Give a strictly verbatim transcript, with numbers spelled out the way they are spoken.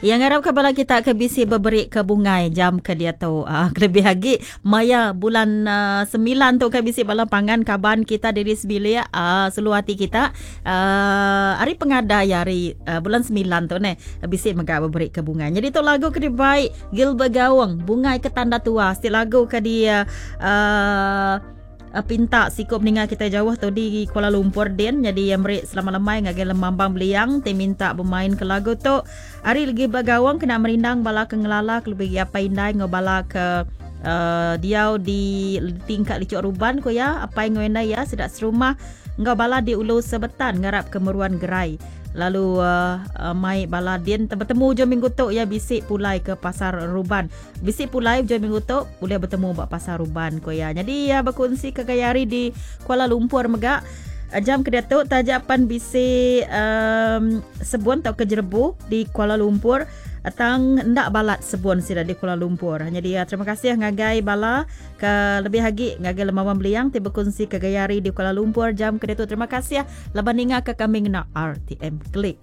Yang ngarap ke bala kita ke bisi beberi ke bungai jam ke dia tu. Uh, lebih lagi maya bulan uh, sembilan tu ke bisi bala pangan kaban kita diri sebilik uh, seluruh hati kita uh, hari pengada ya hari uh, bulan sembilan tu ne bisi mega beberi ke bungai. Jadi tu lagu ke dibaik Gilbert Gawang, Bungai ke Tanda Tua. Setiap lagu ke dia uh, uh, pinta sikup ninga kita jauh tu di Kuala Lumpur din. Jadi yang beri selamat lemai ngagai lemambang beliang te minta bermain ke lagu tu. Hari lagi bergawang kena merindang bala ke ngelala ke lebih apa indai ngau bala ke uh, diau di tingkat licuk ruban ko ya apa ngau indai ya sedak serumah ngau bala di ulu sebetan ngarap ke meruan gerai. Lalu uh, uh, mai bala din bertemu je minggu tu ya bisik pulai ke pasar Ruban. Bisik pulai je minggu tu boleh bertemu bak pasar Ruban ko ya. Jadi ya berkongsi ke gaya hari di Kuala Lumpur megak jam ke tu tajapan bisik um, sebun atau ke jerebu di Kuala Lumpur tang ndak balat sebun sida di Kuala Lumpur. Jadi ya, terima kasih ngagai bala ke lebih lagi ngagai lembawan beliang ti berkongsi ke gaya hari di Kuala Lumpur jam ke tu. Terima kasih laban ninga ke kami ngena R T M Klik.